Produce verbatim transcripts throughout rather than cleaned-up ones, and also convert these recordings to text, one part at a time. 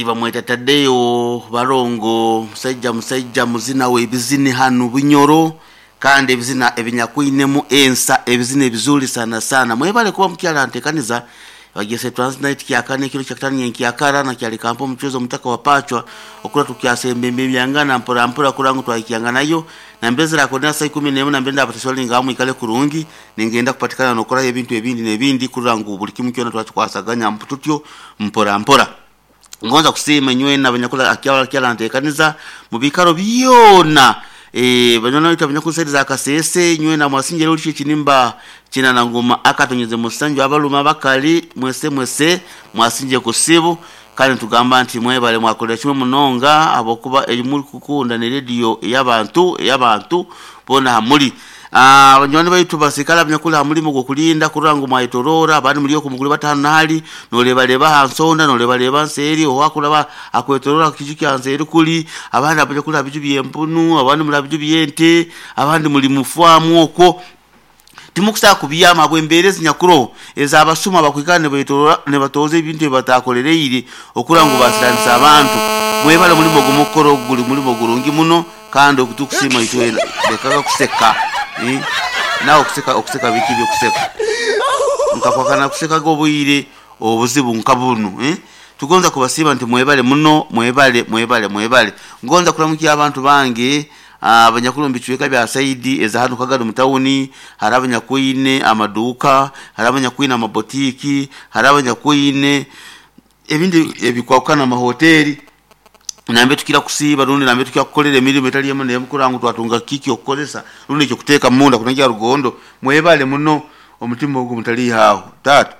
Bamweta Tadeo Barongo, musajja musajja muzina w'ebizini hanu Bunyoro, kandi ebizina ebinyakwinemu ensa, ebizina ebizuri sana sana. Mwebale kuba mukyala ntekaniza bagese transnight kyakane ekiro kyakatano nkyakara na kyali kampo omuchuzo omutaka wa pachwa okura tukyasembembe byangana mpora mpora kurangu twayikyanga nayo na mbezera akonera saa ikumi n'emu na mbenda abatasholinga hamwe ikale kurungi ningenda kupatikana nokora ebintu ebindi n'ebindi kurangu buli kimu kyona twakikwasaganya mpututyo mpora mpora. Ngonza kusiima nywena abanyakula akyala kyala ntekaniza mu bikaro byona eh banyona bita abanyakusaidiza akasese nywena mwasinjere ulicho kinimba kina na ngoma akatonyeze musanju abaluma bakali mwese mwese mwasinje kusibu kandi tugamba nti mwebale mwakolera kimwe munonga abokuba erimuri kukunda ne radio y'abantu y'abantu bona hamuli. Ah, abanywani baitu basikala abanyakula hamulimo gwokulinda kurangu mwayitorora abandi muri okumuguli batano nali nolebaleba hansonda nolebaleba nseri owakulaba akwetorora kiju kya nseri kuli abandi abanyakula biju byempunu abandi muri biju byente abandi muri mufwamu okwo timukusa kubiyama bwemberezi nyakuro ezabasuma bakwikana ne ne batoze ebintu ebatakolereire okurangu basiranisa abantu. Mwebale mulimo gumukoro guli mulimo gurungi muno kandi okutukusima itwena lekaga kuseka eh nawe okuseka okuseka biki byo kuseka nkakwakana kuseka gobuyire obuzibu nkabunu eh tugonza kubasiba nti mwebale muno mwebale mwebale mwebale. Ngonza kulamukia abantu bange abanyakulu mbichweka bya Saidi eza hano Kagado mutawuni, hari abanyakwine amaduka, hari abanyakwine amabotiki, hari abanyakwine ebindi ebikwakana amahoteli nambe tukira kusiba rundi nambe tukira kukolera emirimu etali emu n'emukurangu twatunga kiki okukozesa rundi ekyo kuteeka munda kunajja rugondo. Mwebale muno omutima ogwo mutali hawo tata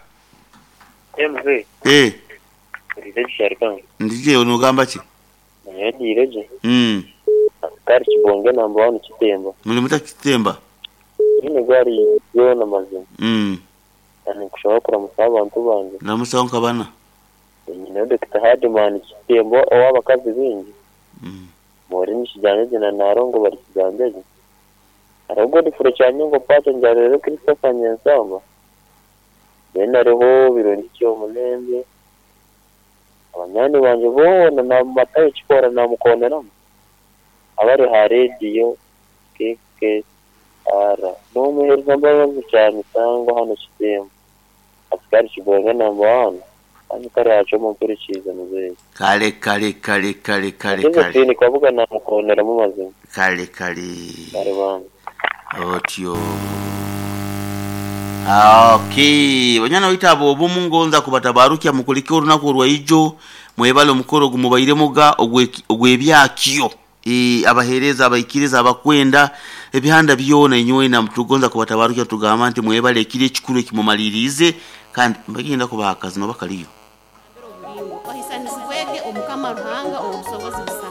M V eh ndireje sharikanga ndije onogamba ki ndireje mm kari kibonge namba one Kitemba muri muta Kitemba ine gari yona mazima mm ani kushobora kuramusa abantu bange namusa nkabana nyina Doctor Hardman Kitemba owabakazi bingi mm muri nishijanye na narongo bari kigambeje arogo difure cyanyongo pato njarero Christopher Nyansamba bena reho birori cyo munembe abanyani banje bona na matayo chikora na mukoneramo abari ha radio K K R no muhereza mbabazi cyane sangwa hano Kitemba asikari kibonga namba one kandi kare haco mumpurikiza muzeyi kale kale kale kale kale kale kale kwavuga na mukoneramo mazima kale kale kale bana otyo. Okay, banyana witabo obumu ngonza kubatabarukia mukulike olunaku olwaijo mwebale omukoro gumubaire muga ogwebyakyo e abahereza abaikiriza abakwenda ebihanda byona inywena mutugonza kubatabarukia tugamba nti mwebale ekiri ekikuru ekimumalirize kandi mbagenda kubaha akazi nobakaliyo ohisanizibwege omukama Ruhanga obusobozi.